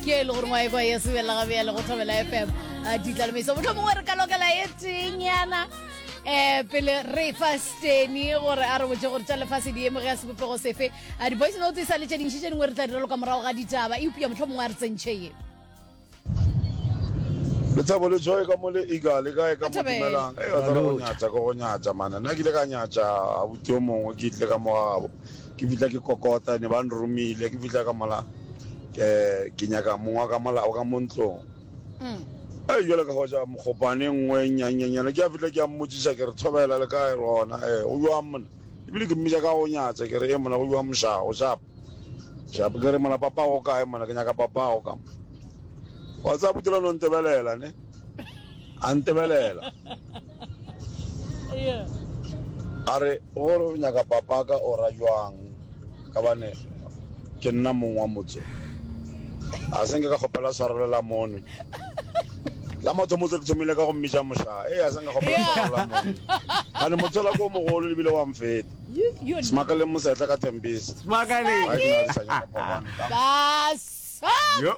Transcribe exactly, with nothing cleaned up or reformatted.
Ke e le gore ngwa ekwa ye sebela ga bjale go Thobela F M ditlalomeiso motlho mongwe re ka lokela e tenyana um pele re fa steny gore a re botse gore tša lefase di eme ge ya sebopego sefe. A di-voice notes e sa le tše dintši, tše dingwe re tla di raloka morago ga ditaba, eupša motlho mongwe a re tsentšhe ye. Lethabo le Joy ka mo le Eagle le kae ka mo? Dumelang. Ei wa tseba go nyatša ke go nyatša mane. Nna ke ile ka nyatša abuti yo mongwe, ke tlile ka mo gabo, ke fihla ke kokota, ne ba nromile, ke fihla ka mola ke ke nyaka mong wa ka mola o ka mo ntlong. Ei jwale ka hwetša mokgopane e nngwe e nnyannyanyana, ke a fihla ke a mmotšiša ke re thobela le kae gona, ee go jwang mona? Ebile ke mmitša ka go nyatša ke re e mona go jwang mošaa, o sharp? Sharp ke re mona papago o kae mona, ke nyaka papago ka mo. Wa tseba Putela no ntebelela ne, a ntebelela a re gore o nyaka papaka o ra jwang ka bane ke nna mong wa motse. A se nke ka kgopela tshwarelo la mone la mathomo tse ke thomile ka go mmitša mošaa. Ee, a se nka kgopela tshwarelo la mone gane motse la ko mogolo lebile wa mfeta. Smakaleng mosetla ka Tembisa. Smakaleng. Ga ke na le sa nyaka pagwane ka Basa. Yo.